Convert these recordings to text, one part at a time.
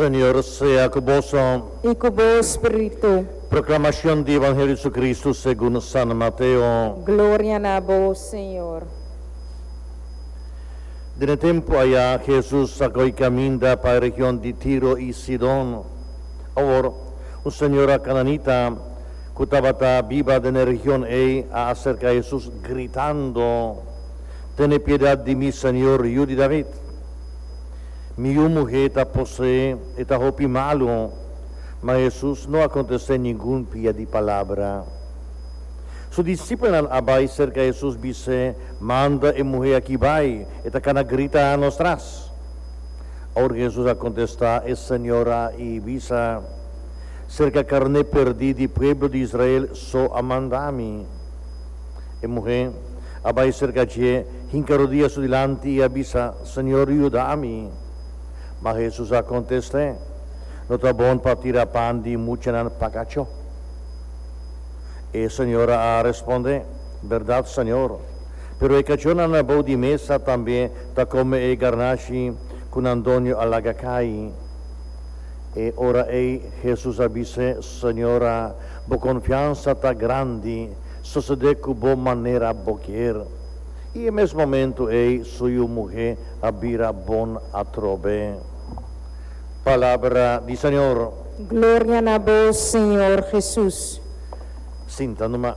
Señor sea ku boso. I ku bo spiritu. Proklamashon di Evangelio di Jesucristo segun San Mateo. Gloria na bo, Señor. Den e tempu aya Jesus a koi kaminda pa e region di Tiro i Sidon. Awor, un señora kananita ku tabata biba den e region ei a aserka Jesus gritando, Tene piedat di mi, Señor, Yu di David! Mi yu muhé ta poseé, e ta hopi malu. Ma Hesus no a kontest'é ningun pia di palabra. Su disipelnan a bai serka Hesus bis'é, Manda e muhé akí bai, e ta kana grita nos tras. Awor Hesus a kontestá e señora i bisa, Serka karné pèrdí di pueblo di Israel so a manda mi. E muhé a bai serka dje, hinka rodia su dilanti i a bisa, Señor, yuda mi. Ma Hesus a kontest'é, No ta bon pa tira pan di muchanan pa kachó. E señora a respondé, Bèrdat, Señor, pero e kachónan bou di mesa tambe ta kome e garnashi ku nan doño a laga kai. E ora ei Hesus a bis'é, Señora, bo konfiansa ta grandi, sosodé ku bo manera bo kier. I e mes momentu ei su yu muhé a bira bon atrobe. Palabra di Señor. Gloria na bo, Señor Hesus. Sinta numa.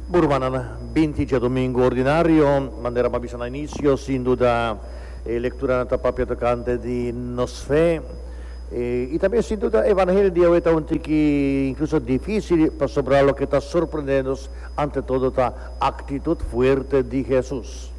Bo rumannan, binti djadumingu ordinario, manera mi a bisa na inisio, sin duda e lekturanan ta papia tokante di nos fe. I tambe sin duda e evangelio di awe ta un tiki inkluso difísil pasobra loke ta sorprendé nos ante todo ta aktitut fuerte di Hesus.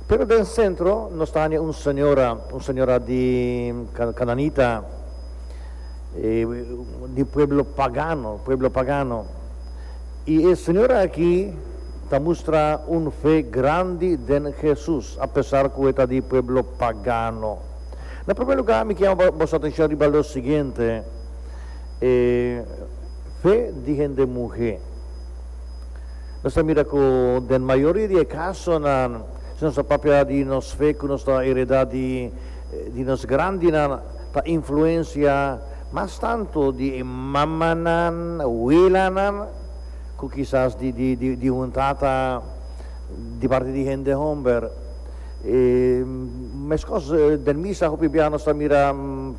Pero den sentro nos ta haña un señora, un señora di kananita, di pueblo pagano, pueblo pagano. I e señora aki ta mustra un fe grandi den Hesus, apesar ku e ta di pueblo pagano. Na promé lugá mi ke yama boso atenshon riba lo siguiente, e fe di hende muhé. Nos ta mira ku den mayoria di e kasonan, si nos ta papia di nos fe ku nos ta heredá di di nos grandinan, ta influensia mas tantu di e mamanan, welanan, ku kisas di di di un tata di parti di hende homber. E meskos den misa hopi biaha nos ta mira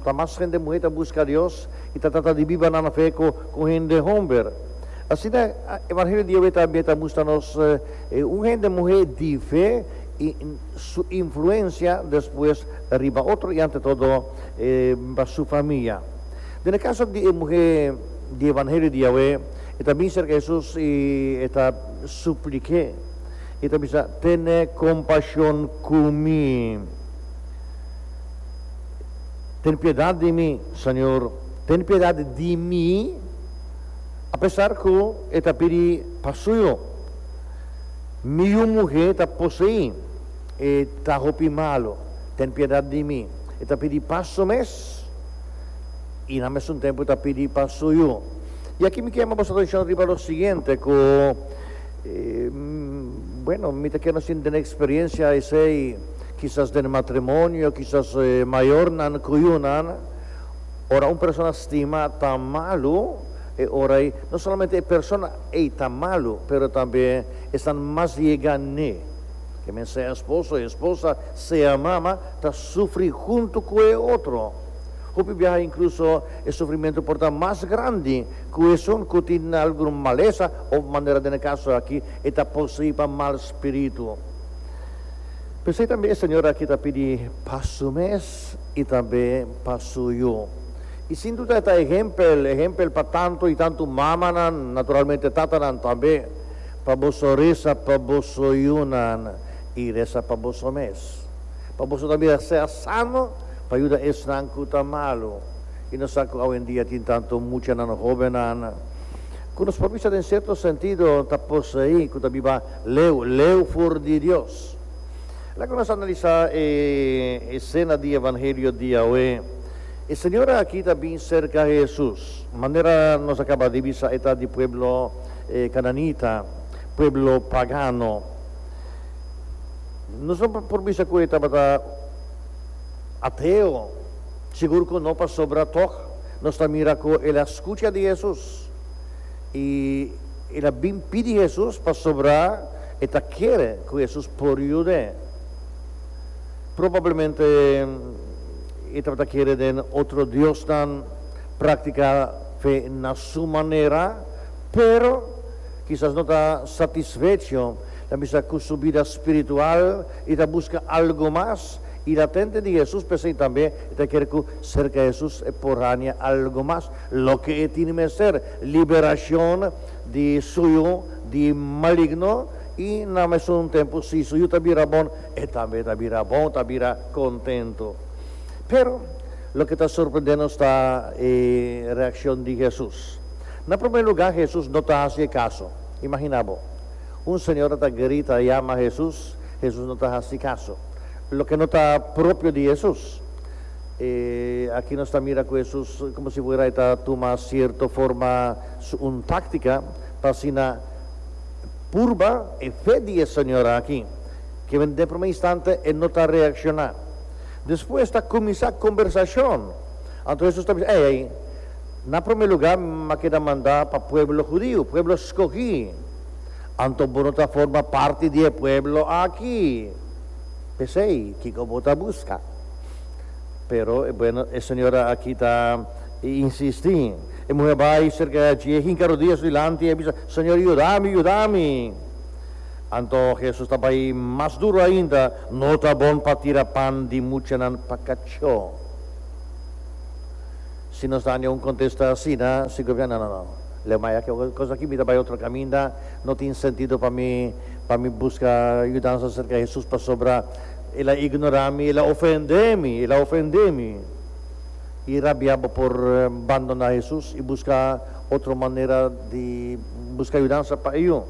ta mas hende muhé ta buska Dios i ta trata di biba nan fe ku ku hende homber. Asina evangelio di awe tambe ta mustra nos un hende muhé di fe i su influensia despues riba otro i ante todo pa su famia. Den e kaso di e muhé di evangelio di awe, e ta bin serka Hesus i e ta suplik'é i ta bisa, Tene kompashon ku mi. Ten piedat di mi, Señor, ten piedat di mi, apesar ku e ta pidi pa suyo. Mi yu muhé ta poseí, e ta hopi malu, ten piedat di mi. E ta pidi pa su mes i na mesun tempu ta pidi pa su yu. I aki mi ke yama boso atenshon riba lo siguiente, ku, bueno, mi ta kere nos tin den eksperensia esei, kisas den matrimonio, kisas mayornan ku yunan, ora un persona stima ta malu, e ora ei no solamente e persona ei ta malu, pero tambe esnan mas yega n'e, ke men sea esposo, esposa, sea mama, ta sufri huntu ku e otro. Hopi biaha inkluso e sufrimentu por ta mas grandi ku esun ku tin algun malesa òf manera den e kaso aki e ta poseí pa mal spiritu. P'esei tambe e señora aki ta pidi pa su mes i tambe pa su yu. I sin duda e ta ehempel, ehempel pa tantu i tantu mamanan, naturalmente tatanan tambe, pa boso resa pa boso yunan i resa pa boso mes. Pa boso ta bira sea sano pa yuda esnan ku ta malu. I nos sa ku awendia tin tantu muchanan hóbennan ku nos por bisa den sierto sentido ta poseí, ku ta biba leu, leu for di Dios. Laga nos analisá e esena di Evangelio di awe. E señora aki ta bin serka Hesus. Manera nos a kaba di bisa e ta di pueblo kananita, pueblo pagano. Nos no por bisa ku e tabata ateo, sigur ku no pasobra tòg nos ta mira ku el a skucha di Hesus i el a bin pidi Hesus pasobra e ta kere ku Hesus por yud'é. Probablemente e tabata kere den otro diosnan, praktiká fe na su manera, pero kisas no ta satisfecho, ta bisa ku su bida spiritual i ta buska algu mas i latente di Hesus, p'esei tambe e ta kere ku serka Hesus e por haña algu mas, loke e tin mester, liberashon di su yu di maligno i na mesun tempu si su yu ta bira bon, e tambe ta bira bon, ta bira kontentu. Pero loke ta sorprendé nos ta e reakshon di Hesus. Na promé lugá Hesus no ta hasi e kaso. Imaginá bo, un señora ta grita yama Hesus, Hesus no ta hasi kaso. Loke no ta propio di Hesus. E aki nos ta mira ku Hesus komo si fuera e ta tuma sierto forma su un táktika pa asina purba e fe di e señora aki. Ke den promé instante e no ta reakshoná. Despues ta kuminsá kombersashon. Anto Hesus ta bisa, Ei, ei, Na promé lugá m'a keda mandá pa pueblo hudiu, pueblo skogí. Anto bo no ta forma parti di e pueblo aki. P'esei, kiko bo ta buska? Pero, bueno, e señora aki ta insistí. E muhé bai serka dje, hinka rodia su dilanti i a bisa, Señor, yuda mi, yuda mi! Anto Hesus ta bai mas duru ainda, No ta bon pa tira pan di muchanan pa kachó. Si nos dania un kontesta asina, si gobièrnu, no, no, no, leu maya ke kos aki, mi ta bai otro kaminda, no tin sentido pa mi pa mi buska yudansa serka Hesus pasobra el a ignorá mi, el a ofendé mi, el a ofendé mi. I rabia bo por bandoná Hesus i buska otro manera di buska yudansa pa e yu.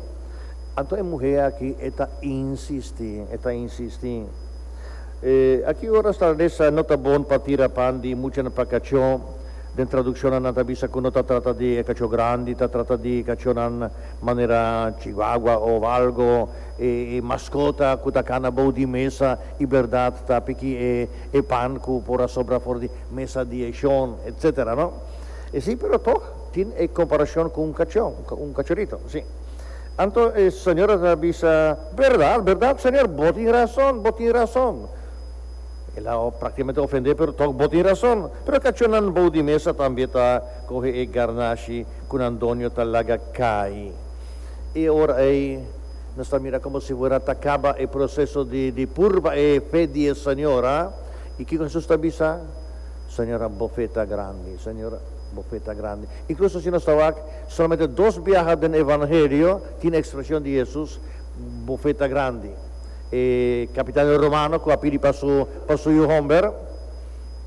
Anto e muhé aki e ta insistí, e ta insistí. Aki ora sta lesa no ta bon pa tira pan di muchanan pa kachó. Den tradukshonnan nan ta bisa ku no ta trata di e kachó grandi, ta trata di kachónan manera chihuahua òf algo, e maskota ku ta kana bou di mesa i bèrdat ta piki e pan ku por a sobra for di mesa di e shon, etsetera, no? Sí, pero tòg tin e komparashon ku un kachó, un kachorito, sí. Anto e señora ta bisa, Berdad, berdad, señor, bo tin rason, bo tin rason. El a prácticamente ofendé, pero tog bo tin rason. Pero cachónan bou di mesa tambe ta coge e garnashi cu nan doño ta laga cai. E ora ei nos ta mira como si fuera ta caba e proceso di di purba e fe di e señora. I kico Jesús ta bisa? Señora, bo fe ta grandi. Señora, bo fe ta grandi. Incluso si nos ta wak Solamente dos biaha den Evangelio tin ekspreshon di Hesus, Bo fe ta grandi. E kapitan romano ku a pidi pa su pa su yu hòmber,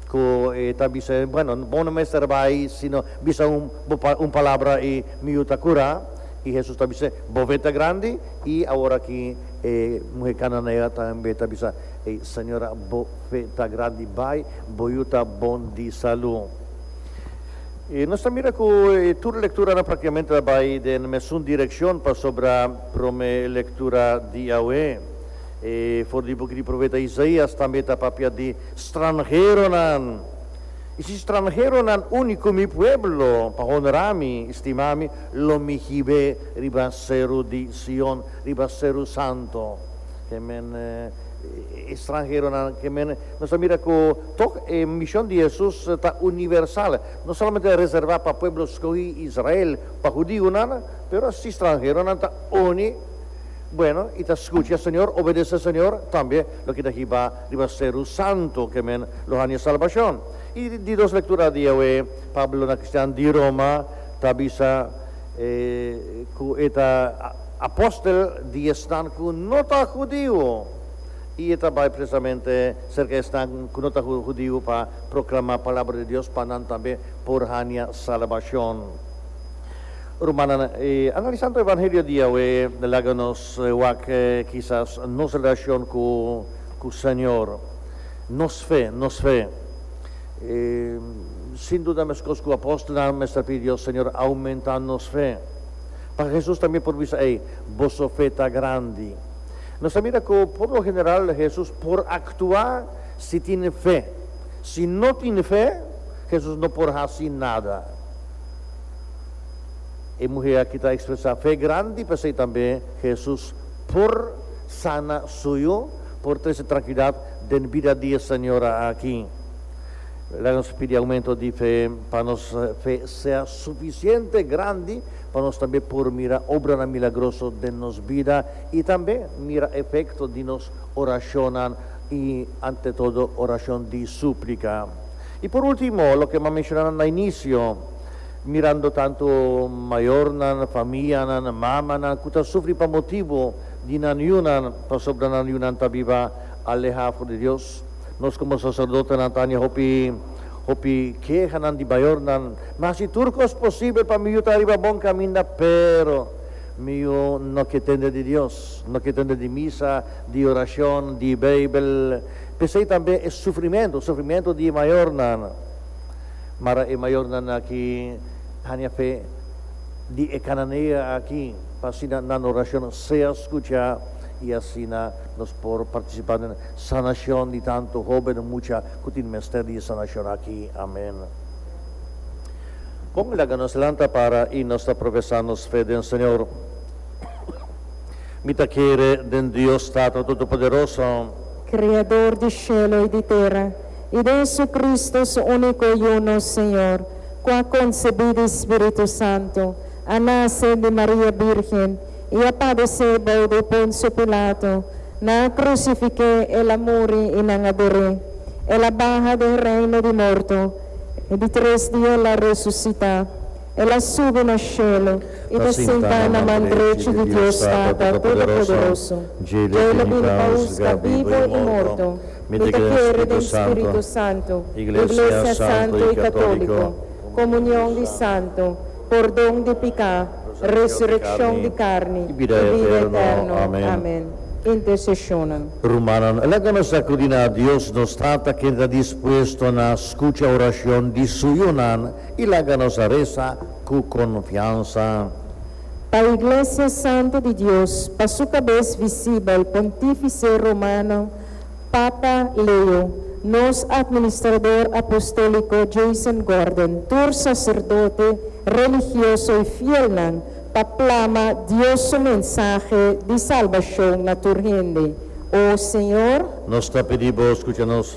ku e ta bisa, Bueno, bo no mester bai sino bisa un bo un palabra i mi yu ta kurá. I Hesus ta bis'é, Bo fe ta grandi. I awor aki e muhé kananea tambe ta bisa, Ey, señora, bo fe ta grandi, bai, bo yu ta bon di salú. I nos ta mira ku e tur lekturanan praktikamente ta bai den mesun direkshon pasobra promé lektura di awe, e for di buki di profeta Isaías tambe ta papia di stranheronan. I si stranheronan uni ku mi pueblo pa honrá mi i stima mi, lo mi hib'é riba seru di Sion, riba seru santu. Ke men e stranheronan ke men nos ta mira ku tok e mishon di Hesus ta universal, no solamente reservá pa pueblo skohí Israel, pa hudiunan, pero si stranheronan ta uni, bueno, i ta skucha Señor, obedesé Señor, tambe lo keda hibá riba seru santu ke men lo haña salbashon. I di dos lektura di awe, Pablo na kristian di Roma ta bisa ku e ta Apostel di esnan ku no ta hudiu, i e ta bai presamente serka esnan ku no ta hudiu pa proklamá palabra di Dios pa nan tambe por haña salbashon. Rumannan, analisando Evangelio di awe, laga nos wak kisas nos relashon ku ku Señor, nos fe, nos fe. Sin duda meskos ku apostelnan mester pidi Dios, Señor, oumentá nos fe. Pa Hesus tambe por bisa, Ey, boso fe ta grandi. Nos a mira ku por lo general Hesus por aktua si tin fe. Si no tin fe, Hesus no por hasi nada. E muhé aki ta ekspresá fe grandi, p'esei tambe Hesus por sana su yu, por trese trankilidat den bida di e señora aki. Laga nos pidi aumento di fe pa nos fe sea sufisiente grandi pa nos tambe por mira obranan milagroso den nos bida i tambe mira efekto di nos orashonnan i ante todo orashon di súplika. I por último, loke m'a menshoná na inisio, mirando tantu mayornan, famianan, mamanan ku ta sufri pa motibu di nan yunan, pasobra nan yunan ta biba alehá for di Dios. Nos komo saserdotenan ta haña hopi hopi kehanan di mayornan. Mi hasi tur kos posibel pa mi yu ta riba bon kaminda, pero mi yu no ke tende di Dios, no ke tende di misa, di orashon, di Beibel. P'esei tambe e sufrimentu, sufrimentu di e mayornan. Mara e mayornan aki haña fe di e kananea aki pa asina nan orashon sea skuchá i asina nos por partisipá den Sanashon di tantu hóben mucha ku tin mester di e sanashon aki. Amen. Bon, laga nos lanta para i nos ta profesá nos fe den Señor. Mi ta kere den Dios Tata Todopoderoso. Kreador di shelu i di tera, i den Jesucristo, su úniko Yu, nos Señor, ku a konsebí di Spiritu Santu, a nase di Maria Bírgen, i a padesé bou di Ponsio Pilato, Nan a krusifik'é, el a muri i nan a der'é. El a baha den reino di morto, e di tres dia el a resusitá. El a subi na shelu i ta sintá na man drechi di Dios Tata Todopoderoso. Dje lo bini pa husga bibu i morto. Mi ta kere den Spiritu Santu, Iglesia Santu i Katóliko, komunion di santu, pordon di piká, resurekshon di karni i bida eterno. Amen. Interseshonnan. Rumannan, laga nos akudí na Dios nos Tata ken ta dispuesto na skucha orashon di su yunan i laga nos resa ku konfiansa. Pa Iglesia Santu di Dios, pa su kabes visibel, Pontífise Romano, Papa Leo, nos Administrador Apostóliko Jason Gordon, tur saserdote, religioso i fielnan pa plama Dios su mensahe di salbashon na tur hende. O Señor. Nos ta pidi Bo skucha nos.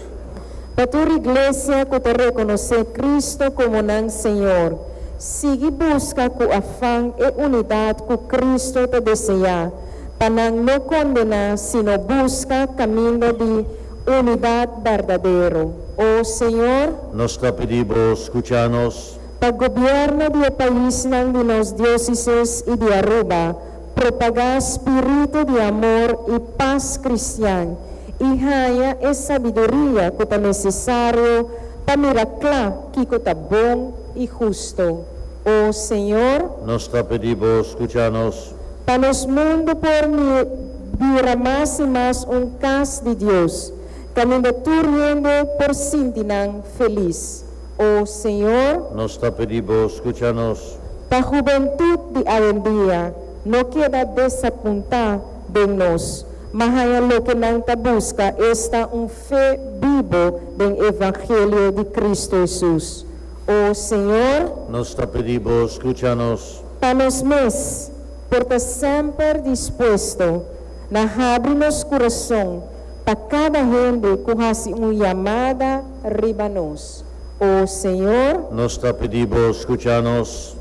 Pa tur iglesia ku ta rekonosé Kristo komo nan Señor, sigui buska ku afan e unidat ku Kristo ta deseá. Pa nan no kondená, sino buska kaminda di unidat berdadero. O Señor. Nos ta pidi Bo skucha nos. Pa gobièrnu di e paisnan di nos diósises i di Aruba propagá spiritu di amor i pas kristian i haña e sabiduria ku ta nesesario pa mira kla kiko ta bon i hustu. O Señor. Nos ta pidi Bo skucha nos. Pa nos mundu por bira mas i mas un kas di Dios, kaminda tur hende por sinti nan felis. O Señor. Nos ta pidi Bo, skucha nos. Pa hubentut di awendia no keda desapuntá den nos, ma haña loke nan ta buska, esta un fe bibo den evangelio di Cristo Hesus. O Señor. Nos ta pidi Bo, skucha nos. Pa nos mes por ta semper dispuesto na habri nos kurason pa kada hende ku hasi un yamada riba nos. O Señor. Nos ta pidi Bo skucha nos.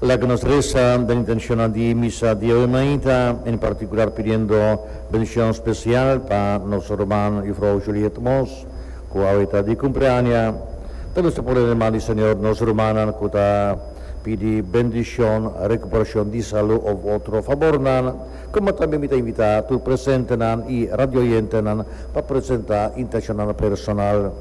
Laga nos resa den intenshonnan di misa di awe mainta, en partikular pidiendo bendishon spesial pa nos ruman Jufrou Juliet Mos, ku awe ta di kumpleaña. Ta nos ta pone den man di Señor nos rumannan ku ta Pidi bendishon, rekuperashon di salu òf otro fabornan. Komo tambe mi ta invitá tur presentenan i radioyentenan pa presentá intenshonnan personal.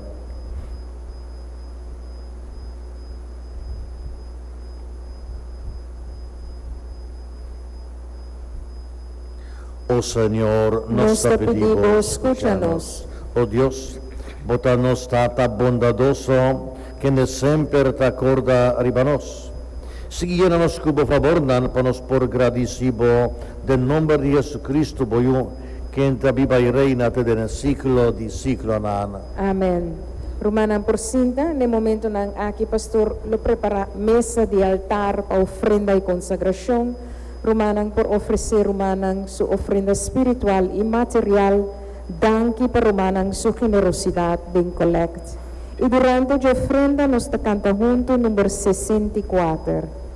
O Señor, nos ta pidi Bo, skucha nos. O Dios, Bo ta nos Tata bondadoso, Kende semper ta korda riba nos. Sigui yena nos ku bo fabornan pa nos por gradisí bo den nomber di Jesucristo bo Yu, ken ta biba i reina te den e siglo di siglonan. Amen. Rumannan por sinta. Na e momentonan aki pastor lo prepara mesa di altar pa ofrenda i konsagrashon. Rumannan por ofresé rumannan su ofrenda spiritual i material. Danki pa rumannan su generosidat den kolèkt. I durante dje ofrenda nos ta kanta huntu number 64.